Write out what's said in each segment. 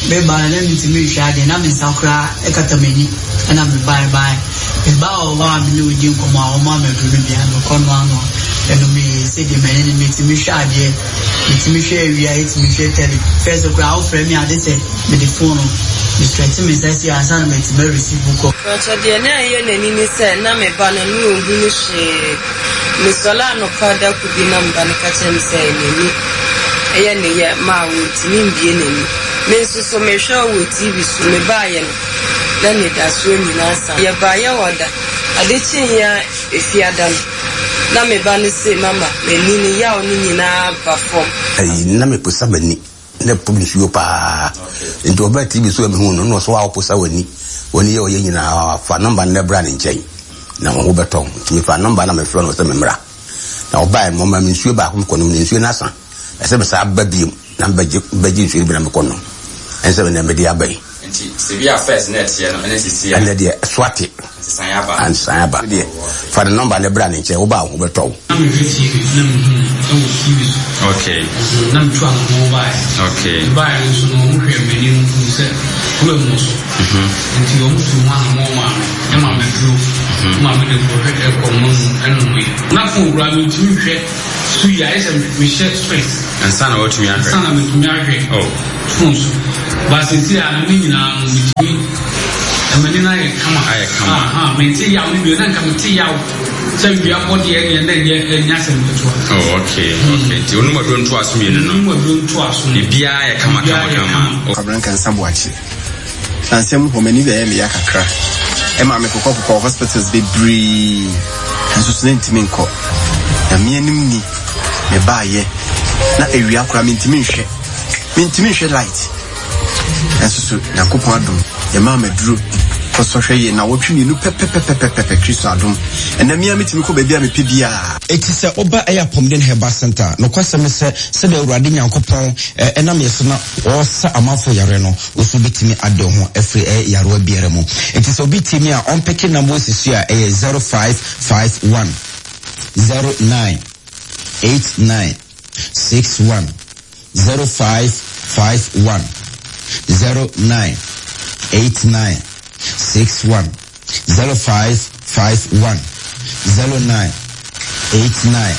Meba no na mentumi nhwɛ adeɛ, na me nsa koraa kata m'ani ɛna mebaeɛ baeɛ. Mebaa wɔ hɔ a me ne wo di nkɔmmɔ a wɔmaa me aduro no bi a mekɔ noanoa ɛnomeeɛ. Sɛdeɛ m'ani no metumi hwɛ adeɛ, metumi hwɛ awia, ɛtumi hwɛ tele. First koraa wofrɛ me a gye sɛ mede phone no me stretch me nsa sei ansa na matumi a receive wo call. Pakyɛ deɛ na ɛyɛ n'ani ne sɛ na me ba no na ɔnhunu hwee. Mesɔre anɔpa da koro bi na me ba no ka kyerɛ me sɛ n'ani yɛ ne yɛ ma ɔntumi mbue n'ani. Me nso so mehwɛ wɔ TV so, mebaeɛ no na anidasoɔ nyinaa asa. Yɛbaeɛ wɔ da, ade kyeeɛ ara Efiada no, na me ba no se mama m'ani no yaw no nyinaa aba fam. Ayi, na meposa m'ani, na ɛpo nsuo paa. Nti ɔbaa TV so a mehuu no, na ɔsɛ wa woposa w'ani, w'ani yɛ ɔyɛ nyinaa, fa nɔmba no na bra ne nkyɛn, na wo ho bɛtɔ wo. Nti mefaa nɔmba na mefrɛ no sɛ memmra. Na ɔbaeɛ no, ɔmaa me nsuo baako mekɔnom, na nsuo no asa. Ɛsɛ mesan ba bio na mebɛgye mebɛgye nsuo no bi na mekɔnom. Ɛne sɛ nea mede aba yi. Nti sɛ bi a first na ɛteɛ no ɛne sisi a. Ɛnɛ deɛ ɛso ate. Nsesaeɛ aba. Nsesaeɛ aba. Deɛ fa ne nɔmba no bra ne nkyɛn, woba a wo ho bɛtɔ wo. Na mehwɛ TV na mehu no wɔ TV so. Okay. Na metu anamɔn baeɛ. Okay. Mebaeɛ no nso no wɔn hwɛɛ m'ani no huu sɛ kuro mu wɔ so. Nti wɔn tuu ho anamɔn maa me ɛma me duro ma me de kɔhwɛ ɛkɔ mma mu ɛnomeɛ. Na phone koraa mentumi nhwɛ. So yi ayɛ sɛ mehyɛ specs. Ansa na watumi ahwɛ. Ansa na metumi ahwɛ. Oh. Phone so. But sisi a ne nyinaa no metumi ɛmani no ayɛ kama. Ayɛ kama. Aha, mente yaw no bio na nka mete yaw sɛ wia bɔ deɛ ɛneɛ na ɛnyɛ ɛnyɛ asɛm ketewa. Oh, okay, okay. Nti onum aduro ntoaso mmienu no. Onum aduro ntoaso no. Biribiara yɛ kama kama kama. Kwabena Nkansah Boakye. Na nsɛm hɔ m'ani bɛyɛ me ya kakra. Ɛmaa me kokɔ kokɔɔ hospitals bebree nanso so na ntumi nkɔ. Nyame anim ni, me baayɛ na awia koraa mentumi nhwɛ. Mentumi nhwɛ light. Nanso so Nyankopɔn adom yɛmaa m'aduro kɔsɔ hwɛ yɛ nawɔtwe mmienu pɛpɛpɛpɛpɛpɛ Kristo adom. Ɛnɛ me ara metumi kɔ baabi a mepɛ biara. Enti sɛ woba ɛyɛ Apɔmuden Herbal Centre a, nokwasɛm ne sɛ, sɛdeɛ Awurade Nyankopɔn nam yɛ so na ɔresa amanfoɔ yareɛ no, wo nso wobɛtumi ade wo ho afiri ɛyɛ yarewa biara mu. Enti sɛ obi tie me a, ɔmpeke number wɔ sisi a ɛyɛ 0551 09 89 61 0551 09 89 61. 0551 09 89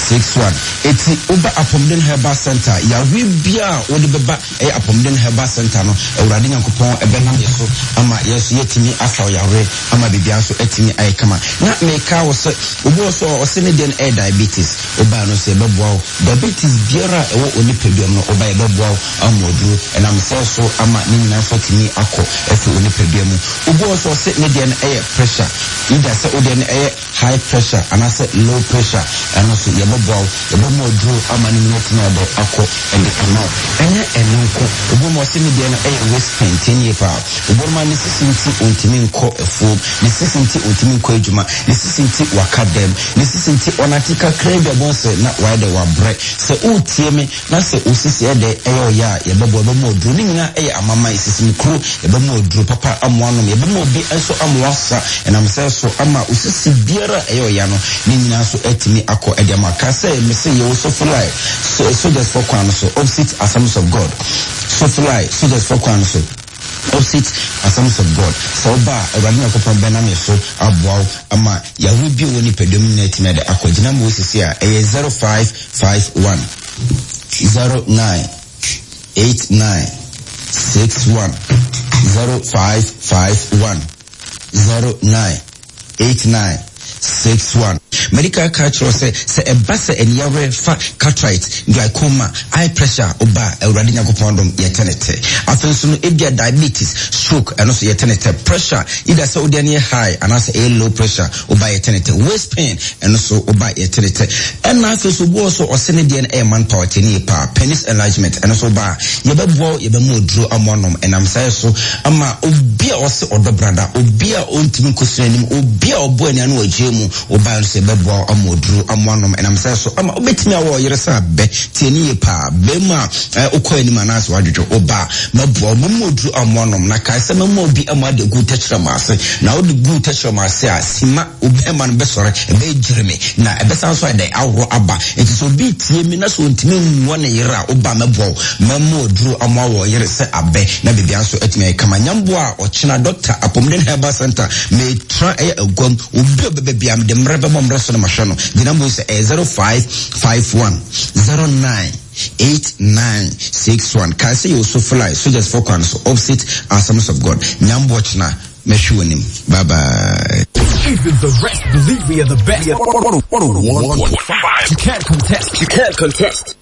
61 Eti woba Apɔmuden Herbal Centre a, yareɛ biara a wode bɛba ɛyɛ Apɔmuden Herbal Centre no, Awurade Nyankopɔn bɛnam yɛ so ama yɛn nso yɛatumi asa wo yareɛ ama biribiara nso atumi ayɛ kama. Na meka wo sɛ, obi wɔ so a ɔse ne deɛ no ɛyɛ diabetes, wobaeɛ no nso yɛbɛboa wo. Diabetes biara a ɛwɔ onipaduam no, woba yɛbɛboa wo ama aduro ɛnam sɛ so ama ne nyinaa nso atumi akɔ afiri onipadua mu. Obi wɔ hɔ nso ɔse ne deɛ no ɛyɛ pressure, either sɛ wo deɛ no ɛyɛ high pressure anaasɛ low pressure, ɛno nso yɛbɛboa wo, yɛbɛma wo aduro ama ne nyinaa atumi ayɛ dɛ akɔ de ama wo. Ɛnyɛ ɛno nko, obi wɔ hɔ ɔse ne deɛ no ɛyɛ waist pain, tie nie paa, obi wɔ hɔ a ne sisi nti ɔntumi nkɔ afuom, ne sisi nti ɔntumi nkɔ adwuma, ne sisi nti waka dɛm, ne sisi nti ɔnante kakraa bi a wobɛhu sɛ na wayɛ dɛ wabrɛ. Sɛ woretie me Na sɛ osisi ɛdɛ ɛyɛ ɔya a, yɛbɛboa, yɛbɛma wo aduro. Ne nyinaa ɛyɛ amaman, sisimkuro, yɛbɛma wo aduro papa ama woanom, yɛbɛma obi nso ama woasa, ɛnam sɛ so ama osisi biara a ɛyɛ ɔya no, ne nyinaa nso atumi akɔ ɛde ama. Ka sɛ, mese yɛwɔ Sofilai, Soldiers foɔ kwan no so, opposite Assemblies of God. Sofilai, Soldiers foɔ kwan no so, opposite Assemblies of God. Sɛ woba a, Awurade Nyankopɔn bɛnam yɛ so aboa wo ama yareɛ bi a ɛwɔ nipadua mu nyinaa atumi ɛde akɔ. Gyina ma osisi a, ɛyɛ 0551. 09 89 61 0551 09 89 61. Medical ka kyerɛ wo sɛ, sɛ ɛba sɛ aniyawerɛ fa cataract, glaucoma, eye pressure a, woba a, Awurade Nyankopɔn adom, yɛte ne tɛ. Afei nso no, ebia diabetes, stroke, ɛno nso yɛte ne tɛ. Pressure, either sɛ wodeɛ no yɛ high anaasɛ ɛyɛ low pressure, Woba yɛ tene tɛ. Waist pain ɛno so woba yɛ tene tɛ. Ɛna afei so obi wɔ so ɔse ne deɛ no ɛyɛ man power tie ne yie paa. Penis enlargement ɛno so woba a yɛbɛboa wo yɛbɛma oduro ama wanom ɛnam saa yɛ so ama obi a ɔse ɔdɔ brada obi a ɔntumi nkɔsua anim obi a ɔbɔ ani ano wɔ agyee mu woba ɛno so yɛbɛ. Mɛboa wo ama oduro ama woanom ɛnam sɛ so ama wobɛtumi awɔ ɔyere sɛ abɛ. Tie ne yie paa. Bɛrima a wokɔ anim anaasɛ woadwodwo wo ba a, mɛboa wo. Mɛma oduro ama woanom. Na kae sɛ mɛma obi ama ade agu wo tɛkyerɛma ase. Na wode gu wo tɛkyerɛma ase a, sima wo bɛrima no bɛsɔre, ɛbɛyɛ gyereme, na ɛbɛsan nso ayɛ dɛn? Aworɔ aba. Enti sɛ obi retie me na sɛ ɔntumi nwɔ ne yere a, wo ba a, mɛboa wo. Mɛma oduro ama woawɔ ɔyere sɛ abɛ, na biribiara nso atumi ayɛ kama. Nyamboa a ɔkyena Dɔkta, Apɔmuden Herbal Centre, metra ɛyɛ aguam. Obi a ɔbɛba biara, mede mmerɛ bɛbɔ mmerɛ so na mahwɛ no. Gyina mu sɛ ɛyɛ 0551 09 8961. Kae sɛ yɛwɔ Sofilai, Soldiers foɔ kwan so, opposite Assemblies of God. Nyamboa kyena, mɛhwe w'anim. Bye bye. Even the rest believe we are the best. 101.5. You can't contest. You can't contest.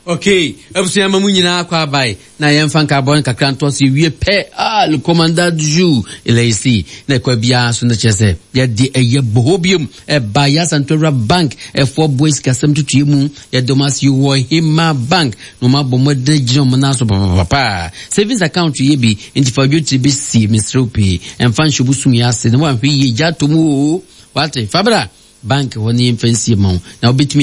Okay, abusua ma mu nyinaa kɔ abae na yɛmfa nkaabɔ no kakra ntoa so yɛwie pɛ ah, le commandant du jour elɛsi na ɛkɔ biara so no kyerɛ sɛ yɛde ɛyɛ bohɔ biom ɛba yɛ asantowura bank ɛfoɔ boa sikasɛm tutuɛ mu yɛde ɔmo ase wɔ hema bank na ɔmo abɔ mmɔden gyina ɔmo nan so papapapa savings account yɛ bi nti fa dwetire bɛsie mesrɛ pii ɛmfa nhyɛ bosom yɛ ase na woanhwɛ yie gya atom oo wate fa bra bank hɔ ne yɛmfa nsie ma wo na wobɛtumi.